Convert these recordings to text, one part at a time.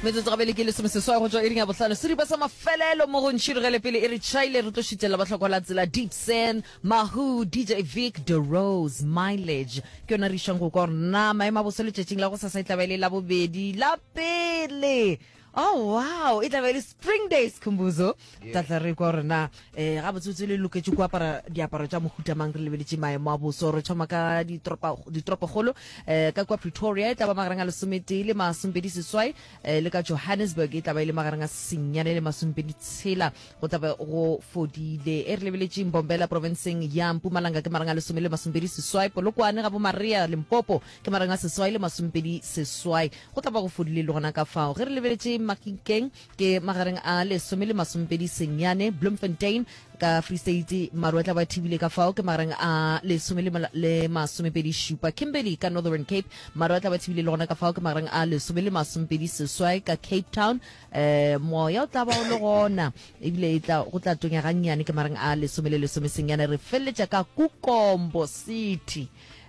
Metsotso gabele ke lesomeseswai go tšwa iring ya bohlano. Seripa sa mafelelo mo go Ntšhirogele pele e re tšhaile re tlo šitela bahlokwa la tsela Deep Sen, Mahu, DJ Vic, The Rose, Mileage. Ke yona re išang go kwa gore na maemo a boso letšatšing la gosasa e tla ba e le la bobedi la pele. Oh wow, e tla ba e le Spring Day Skhumbuzo. Tla tla re kwa gore na eh gabotsebotse le loketše go apara diaparo tša mohuta mang re lebeletše maemo a boso. Re thoma ka ditoropa ditoropokgolo eh ka kwa Pretoria e tla ba magareng a lesometee le masomepedi seswai eh, le ka Johannesburg e tla ba e le magareng a senyane le masomepedi tshela go tla be go fodile. E re lebeletše Mbombela profenseng ya Mpumalanga ke magareng a lesome le masomepedi seswai, Polokwane ga bo Maria Limpopo ke magareng a seswai le masomepedi seswai go tla ba go fodile le gona ka fao. Ge re lebeletše Mahikeng ke magareng a lesome le masomepedi senyane, Bloemfontein ka Free State maru a tla ba thibile ka fao ke magareng a lesome le, le masomepedi šupa, Kimberley ka Northern Cape maru a tla ba thibile le gona ka fao ke magareng a lesome le masomepedi seswai, ka Cape Town eh moya o tla ba o le gona ebile e tla go tla tonya gannyane ke magareng a lesome le lesome senyane. Re feleletša ka Kukombo City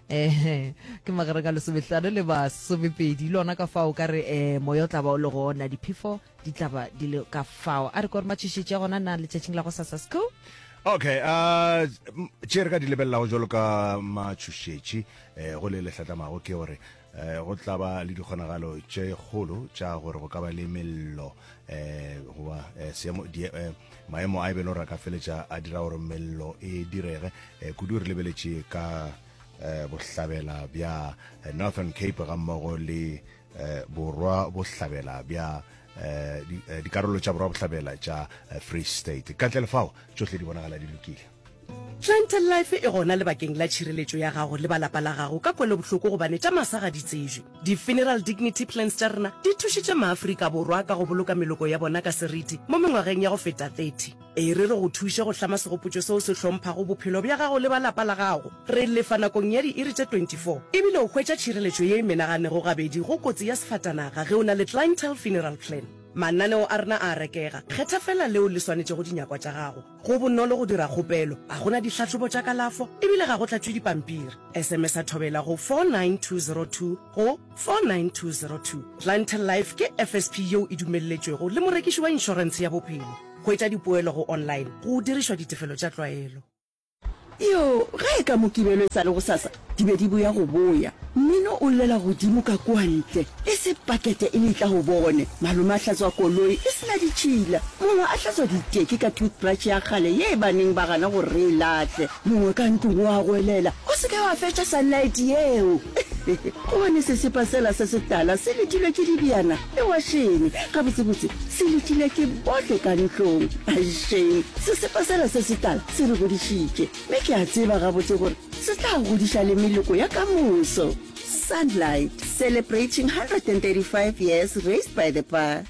eh ke magareng a lesomehlano le masomepedi le ona ka fao ka re eh moya o tla ba o le gona diphefo di tla ba di le ka fao a re kore matšhošetši a gona na letšatšing la go sasa sco Okay, uh, tše re ka di lebelelago jalo ka matšhošetši eh, go le lehlatlamago ke gore eh, go tla ba le dikgonagalo tše kgolo tša gore go ka ba le mello eh, goba eh, seemo di, eh, maemo a e be le gore a ka feletša a dira gore mello e direge eh, kudu re lebeletše ka eh, bohlabela bja eh, Northern Cape gammogo le eh, borwa bohlabela bja eh, eh, dikarolo tša borwa bohlabela tša eh, Free State. Ka ntle le fao tšohle di bonagala di lokile. Clientele Life e gona lebakeng la tšhireletšo ya gago le ba lapa la gago ka kwelobohloko gobane tša masa ga di tsejwe. Di-Funeral Dignity Plans tša rena di thušitše maAfrika Borwa ka go boloka meloko ya bona ka seriti mo mengwageng ya go feta 30. E re re go thuše go hlama segopotšo seo se hlomphago bophelo bja gago le ba lapa la gago. Re lefa nakong ya diiri tše 24 ebile o hwetša tšhireletšo ye e menaganego gabedi go kotsi ya sefatanaga ge o na le Clientele Funeral Plan. Mananeo a rena a a rekega, kgetha feela leo le swanetšego dinyakwa tša gago. Go bonolo go dira kgopelo, ga go na dihlahlobo tša kalafo e bile ga go tlatšwe dipampiri. SMS-a Thobela go 49202 go 49202. Clientele Life ke FSP yeo e dumelletšwego le morekiši wa inšorentshe ya bophelo. Hwetša dipoelo go online go dirišwa ditefelo tša tlwaelo. Yoo, ge e ka Mokibelo e sa le gosasa, di be di boya go boya. Mmino o llela godimo ka kua ntle, e se pakete e letla go bone. Malome a hlatswa koloi e se na ditšhila, mongwe a hlatswa diteki ka toothbrush ya kgale ye ba neng ba gana gore re e lahle. Mongwe ka ntlong o a goelela, O se ke wa fetša Sunlight yeo! Gobane sesepa sela se setala se letilwe ke dibjana le wašene. Gabotsebotse, se letilwe ke bohle ka ntlong. Ai shame, sesepa sela se setala se re godišitše, mme ke a tseba gabotse gore se tla godiša le meloko ya ka moso. Sunlight, celebrating 135 years raised by the bar.